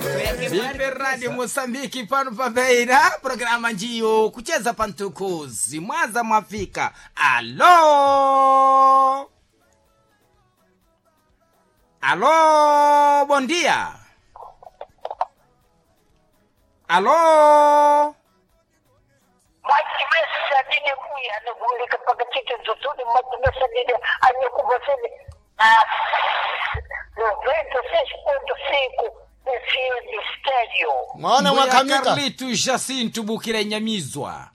Ipe Radio Mosambiki pano pabeira programa njiyo kucheza pantukuzi mwaza mwafika. Alo, alo, bom dia. Alo, Machimesa dine kuya anagulika pakachita zuzuni machimesa dine anyakubasene a 96.5 FM Stereo. Mwaona Mbuya mwakamika Carlito Jacinto Bukira Nyamizwa.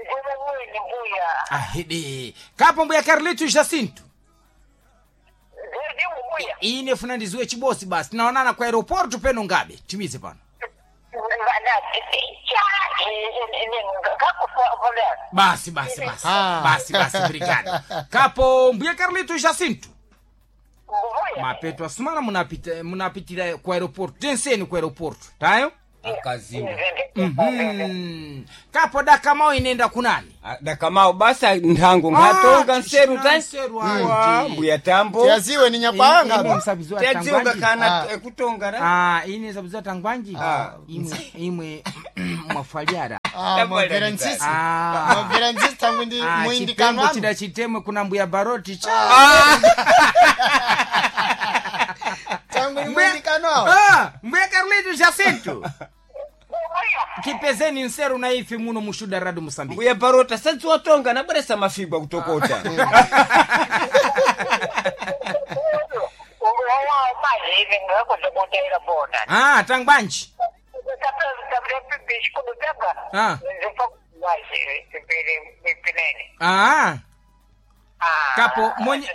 Mbuya mwini mbuya. Ahidi kapo Mbuya Carlito Jacinto. Ndiyo mbuya. Ine funa ndiziwe chibosi basi tunaonana kwa aeroporto peno ngabe timize pano. Basi basi basi. Ah. Basi basi brigada. Kapo Mbuya Carlito Jacinto. Mapeto asumana munapita munapitira kwa aeroporto. Tenseni kwa aeroporto. Tayo? Akazimba. Kapo dakamao inenda kunani? Dakamao basa nthango nkhatonga Ah, nseru ta nseru Wa, anti. mbuya tambo tiyaziwe ni nyakwanga Ine msabiziwa tiyadziwa tangwanji. kana Ah. kutonga ra Ah, ine msabiziwa tangwanji. Ah. Imwe imwe mwafaliara. Ah, mwamvera ntsisi Ah. mwamvera ntsisi tangu ndi Ah, chipembo muindikanwanu chida chitemwe kuna mbuya baroti cha. tangu ndi muindikanwawo Ah, mbuya Carlito Jacinto. Kipezeni nseru na ife muno mushuda Radio Mosambiki. mbuya barota sadziwa tonga nabweresa mafigwa kutokota Ah, tangwanji. Ah. Ah. Kapo mwenye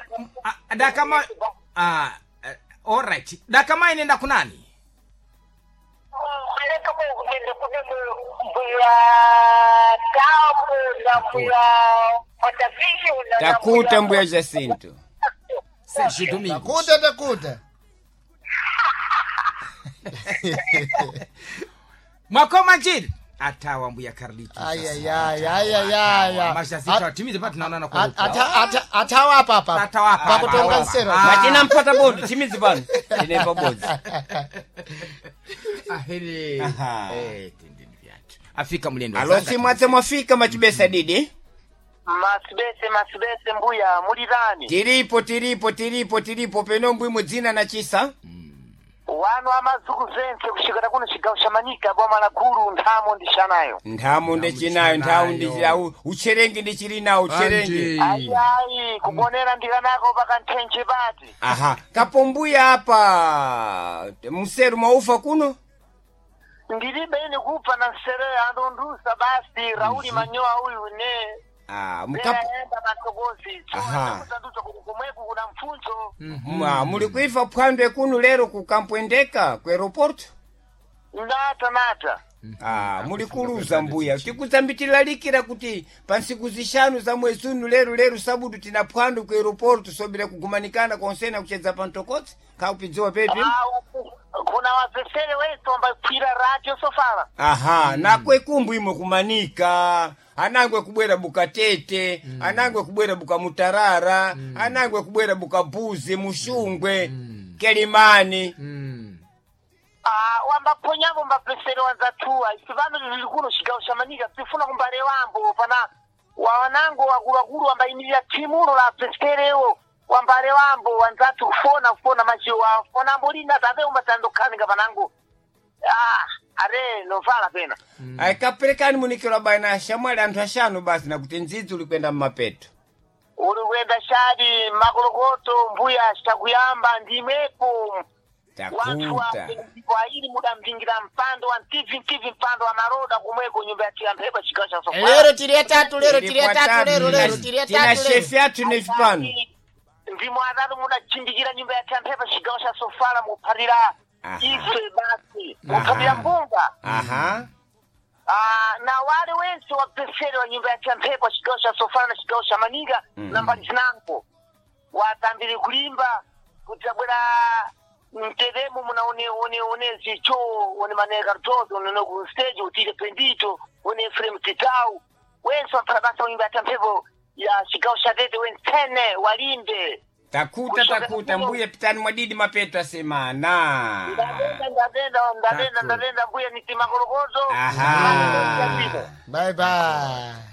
ah, dakama ah, all right. Dakama inenda kunani? Takuta mbuya Jacinto. Sergio Domingos. takuta takuta Mwakoma njiri. Atawa mbuya Carlito. ayayayayaya Majazito atimize pa tunaonana kwa aeroporto. atawa apa apa Atawa apa, pakutonga atawa. nsero Ah. Machina mpata bodi chimidzi pano tinepa bodzi Aheri. Aha. Eh, tindini vyatu. Afika mlendo. alosi mwatse mwafika machibesa didi Masibese masibese mbuya mulirani tiripo tiripo tiripo tiripo peno mbwimwe dzina na chisa wanu amazuku zense kushikira kuno chigawo cha Manika boma la gulu nthamo ndishanayo nthamo ndichinayo nthawu ndichinayo ucherengi ndichili nawo ucherengi ayi ayi kubonera ndikanako pakanthenje pati aha kapombuya apa mseru mwaufa kuno ndilibe ine kupfa na nsereya andondusa basi Rauli Manyoa uyu ne ah, mkapo enda matokozi Aha. tsotanduza kuti komweku kuna mfunzo muli kuifa phwandwe kuno lero kukampwendeka ku aeroporto nata nata Ah, muli kuluza mbuya tikudzambitilalikira kuti pa ntsiku zixanu za mwezi uno lero lero sabudu tina phwando ku aeroporto sobera kugumanikana konsena kuchedza pa mtokotsi khaupidziwa pepi kuna wapesere wense wambakwira radio sofala aha nakwe kumbu imwe kumanika anangwe kubwera bukatete anangwe kubwera bukamutarara anangwe kubwera bukabuzi mushungwe kelimani Ah, wambaponyavo mbapesere wanzatuwa isi vano vili kuno chigawo cha Manika tifuna kumbale wambo pana wawanango wakuluakulu wambayimirira timulo la peserewo wambale wambo wanzatu kufona kufona machiwa fona ambolina tate umbatandokhaninga panango ah are novala pena aikaperekani munikiro bwana ashamwali anthu axanu basi nakuti ndzidzi uli kuyenda mmapeto uli kuyenda shadi makolokoto mbuya citakuyamba ndimwepo wanthu takuta aili mudamvingira mpando wa mtivi mtivi mpando wa maroda kumweko nyumba ya tiyamphepo chigawo cha Sofala. lero tili atatu lero tili atatu lero lero tili tina atatu lero shefi athu nefi pano ndimo atatu mudachindikira nyumba ya tiyamphepo chigawo cha Sofala mukuphatira Aha. ife basi mukuphatira mbunga aha Ah, na wale wense wapesere wa nyumba ya tiyamphepo chigawo cha Sofala na chigawo cha Manika na mbali zinango watambire kulimba kuti abwera mteremo muna one one one zicho one maneka rtoto one no ku stage utile pendito one Efrem Titau wense waphala basa wa nyumba ya tiyamphepo ya chigawo cha Tete wensene walimbe. Takuta takuta mbuya pitani mwadidi mapeto asemana. Ndadenda ndadenda ndadenda Taku. ndadenda mbuya niti makolokozo. Aha. Bye bye.